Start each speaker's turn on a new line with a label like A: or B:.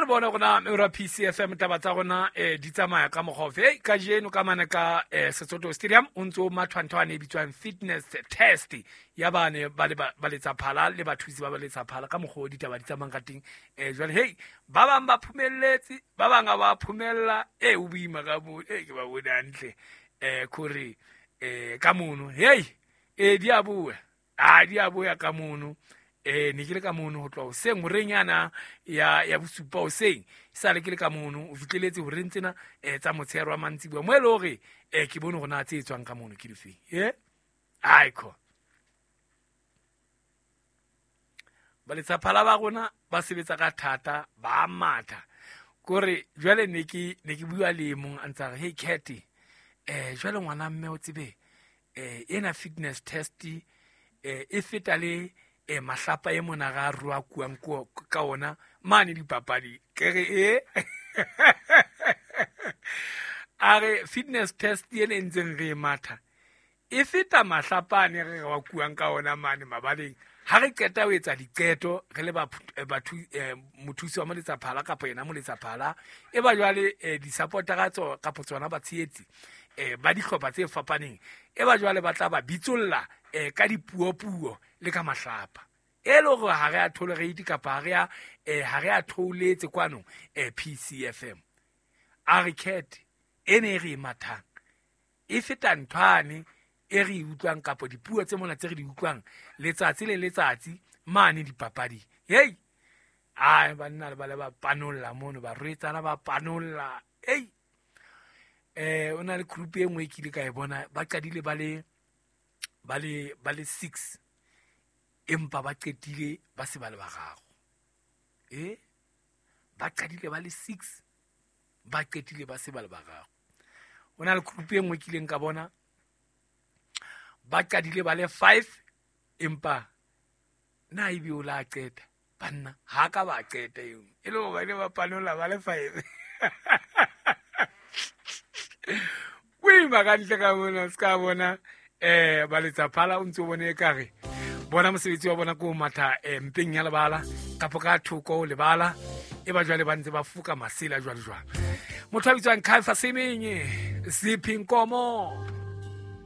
A: bone gona ora PCFM taba tsa rona di tsamaya ka mokgwa ofe. Hey, kajeno ka mane ka Sesotho Stadium o ntse o mathwanthwane e bitswang fitness test ya bane ba le ba letsa phala le bathusi ba ba letsa phala ka mokgwa o ditaba di tsamayang ka teng. Jwale hey, ba bang ba phumelletse, ba bang ga ba phumella. O boima ka mo, ke ba bone hantle. Kore ka mono. Hey, di a boya. A di a boya ka mono. Ne ke le ka mono ho tloha hoseng horeng yana ya bosupa hoseng. Sale ke le ka mono, o fihleletse horeng tsena tsa motshehare wa mantsiboya. Mo e le hore ke bone hore na tse etswang ka mono ke difeng. Aiko. Ba letsaphala ba rona ba sebetsa ka thata, ba matha. Kore jwale ne ke bua le mong a ntsa re, hey Cat, jwale ngwana mme o tsebe, ena fitness test e feta le mahlapa e mona ra rua kuang ka ona mane dipapadi. Ke re e a re fitness test ena e ntseng re e matha e feta mahlapa ane re wa kuang ka ona mane mabaleng. Ha re qeta ho etsa diqeto re le mothusi wa moletsaphala kapa yena moletsaphala, e ba jwale di-supportera kapo tsona batshehetsi ba dihlopha tse fapaneng, e ba jwale ba tla ba bitsolla ka dipuopuo le ka mahlapa. E le hore ha re a tolerate kapa ha re a thouletse kwano PCFM. A re Cat e ne e re e mathang e feta nthwane e re e utlwang kapo dipuo tse mona tse re di utlwang letsatsi le letsatsi mane dipapading. Hey, ai banna le ba le ba panolla mono, barwetsana ba panolla. Hey, o na le group e nngwe e ke ile ka e bona, ba qadile ba le 6 empa ba qetile ba se ba le bararo. Ba qadile ba le 6 ba qetile ba se ba le bararo. O na le group e nngwe e kileng ka bona, ba qadile ba le 5 empa na ebe o la qeta banna ha ka ba qeta eo e le hobane ba panola ba le 5. Boima ka ntle ka mona, se ka bona ba letsaphala o ntse o bone ekare bona mosebetsi wa bona ke o matha mpeng ya lebala kapo ka thoko lebala, e ba jwale ba ntse ba foka masela jwale jwale. Motho a bitswang Kaifa Semenye, Siphi Nkomo.